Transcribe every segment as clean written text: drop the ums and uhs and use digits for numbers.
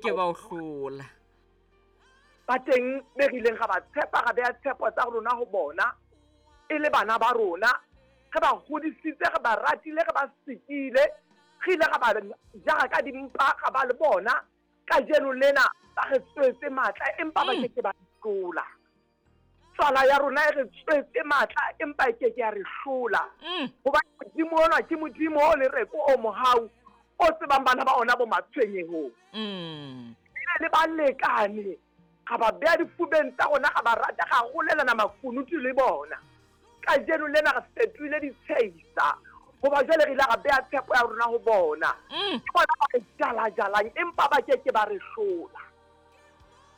Ke ba o hlola. Ba teng be re ileng ra ba tshepa, ra beha tshepo tsa rona ho bona e le bana ba rona. Re ba hodisitse, re ba ratile, re ba sikile, re ile ra ba jara ka dimpa, ra ba le bona. Kajeno lena ba re tswetse matla, empa ba ke ke ba re hlola. Tswala ya rona e re tswetse matla, empa e ke ke ya re hlola. Hobane Modimo ona ke Modimo o lereko, o mohau, o tsebang bana ba ona bo matshwenyehong. Ebile le balekane, ra ba beha difubeng tsa rona, ra ba rata, ra rolelana makunutu le bona. Kajeno lena re fetohile ditshehisa, hoba jwale re ile ra beha tshepo ya rona ho bona. Ke bona ba re jala-jalang, empa ba ke ke ba re hlola.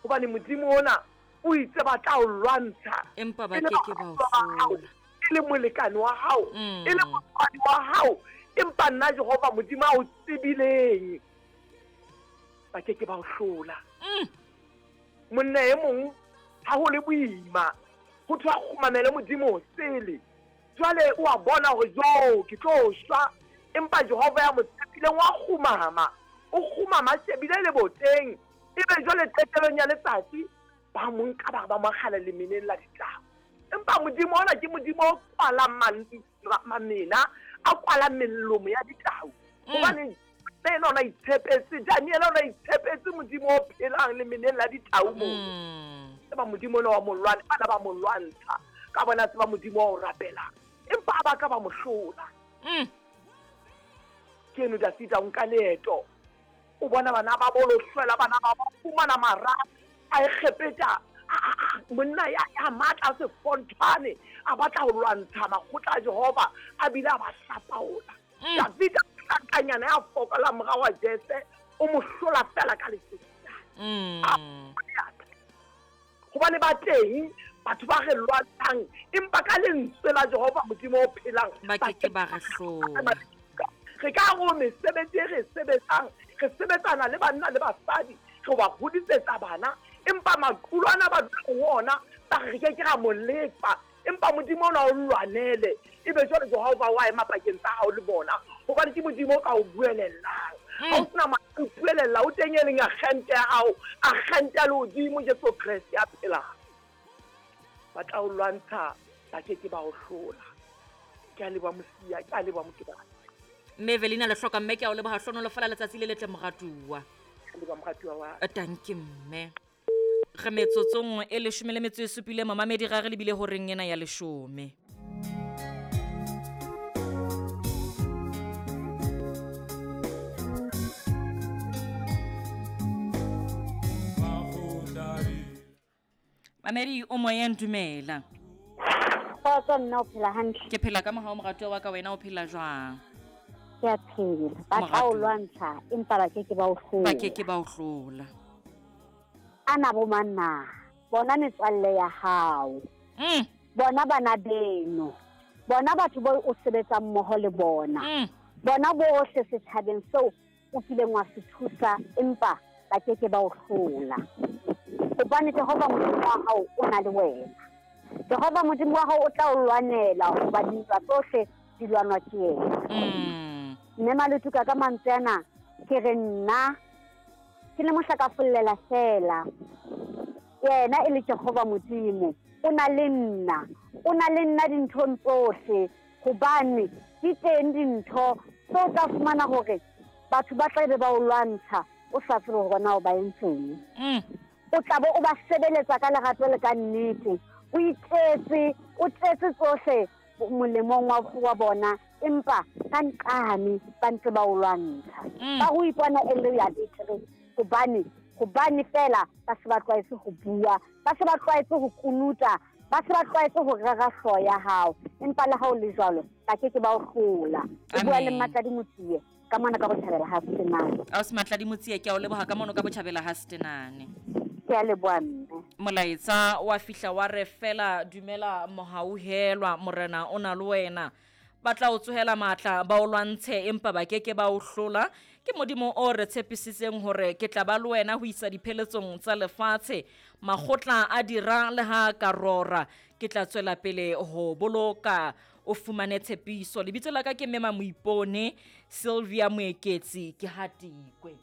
Hobane Modimo ona o itse ba tla o lwantsha, Empa ba e le ke ke ba o baratuwa ba hao, hlola. e le molekane wa hao, e le motswadi wa hao, empa nna Jehova Modimo a o tsebileng, ba ke ke ba o hlola. Monna e mong ha ho le boima, ho thwe a kgumamele Modimo sele. Jwale o a bona hore jo, ke tlo shwa, empa Jehova ya mo tshepileng wa kgumama, o kgumama a shebile leboteng. Ebe jwale qetelong ya letsatsi ba mo nka ba re ba mo akgela lemeneng la ditau. Empa Modimo ona ke Modimo o kwalang mamena, a kwalang melomo ya ditau. Hobane le yena o na itshepetse, Daniele o na itshepetse Modimo o phelang lemeneng la ditau moo. Tseba Modimo ona wa mo lwana, bana ba mo lwantsha, ka bona tseba Modimo wa o rapelang, empa ha ba ka ba mo hlola. Ke eno Dafida o nka leeto, o bona bana ba bo lohlwela, bana ba ba fumana mara a Egepeta, monna ya matla a sefonthwane, a batla ho lwantsha makgotla a Jehova, a bile a ba hlapaola. Davida hlankanyana ya fokola mora wa Jese, o mo hlola fela ka lesedi. Hobane ba teng batho ba re lwantshang, empa ka lentswe la Jehova Modimo o phelang Ba ke ke ba re hlola. Re ka re mesebetsi e re e sebetsang, re sebetsana le banna le basadi, re ba hodisetsa bana, empa maqulo ana ba dulang ho ona, ba re re ke ke ra mo lefa, empa Modimo ona o lwanele. Ebe jwale Jehova wa ema pakeng tsa hao le bona, hobane ke Modimo o ka o buelellang. Ha o sena matla o buelella, o teng e leng agente ya hao, agente ya lehodimo, Jesu Kreste ya phelang. Ba tla o lwantsha, ba ke ke ba o hlola. Ke a leboha Mosia, ke a leboha Mokebane. Mme Evelina le hloka mme, ke a o leboha, hlonolofala letsatsi le letle moratuwa. Ke a leboha moratuwa wa ka. Tanki mme. Re metsotsong e leshome le metso e supile, momamedi ra re lebile horeng ena ya leshome. Mamedi o moyeng, dumela. Kgotso nna, o phela hantle? Ke phela ka mohau moratuwa wa ka, wena o phela jwang? Ke a phela. Ba tla o Moratuwa. lwantsha, empa ba ke ke ba o hlola. Ba ke ke ba o hlola. Ana bo mang na? Bona metswalle ya hao. Bona bana beno. Bona batho bao o sebetsang mmoho le bona. Bona bohle setjhabeng seo o kileng wa se thusa, empa ba ke ke ba o hlola. Hobane Jehova Modimo wa hao o na le wena. Jehova Modimo wa hao o tla o lwanela, hoba dintwa tsohle di lwanwa ke yena. Mme Maletuka, ka mantswe ana ke re nna ke le mohla ka follela fela. Yena e le Jehova Modimo, o na le nna, o na le nna dinthong tsohle, hobane di teng dintho tseo tla fumana hore batho ba tla be ba o lwantsha, o sa tsebe hore na o ba entseng. O tla bo o ba sebeletsa ka lerato le ka nnete, o itletse, o tletse tsohle molemong wa bona, empa ka nqane ba ntse ba o lwantsha. Ba ho ipona e le ya betere, hobane fela ba se ba tlwaetse ho bua, ba se ba tlwaetse ho kunuta, ba se ba tlwaetse ho rera hlooho ya hao, empa le ha o le jwalo ba ke ke ba o hlola. O bua le Amen. Mmatladi Motsie ka mona ka botjhabela ha Setenane. Ausi Matladi Motsie, ke a o leboha ka mono ka botjhabela ha Setenane. Ke a leboha mme. Molaetsa wa fihla wa re fela, dumela mohauhelwa, morena o na le wena. Ba tla o tsohela matla, ba o lwantshe, empa ba ke ke ba o hlola. Ke Modimo o re tshepisitseng hore ke tla ba le wena ho isa dipheletsong tsa lefatshe. Makgotla a dira le ha ka rora, ke tla tswela pele ho boloka o fumane tshepiso. Lebitso la ka ke Mema Moipone, Sylvia Moeketsi, ke Hatikwe.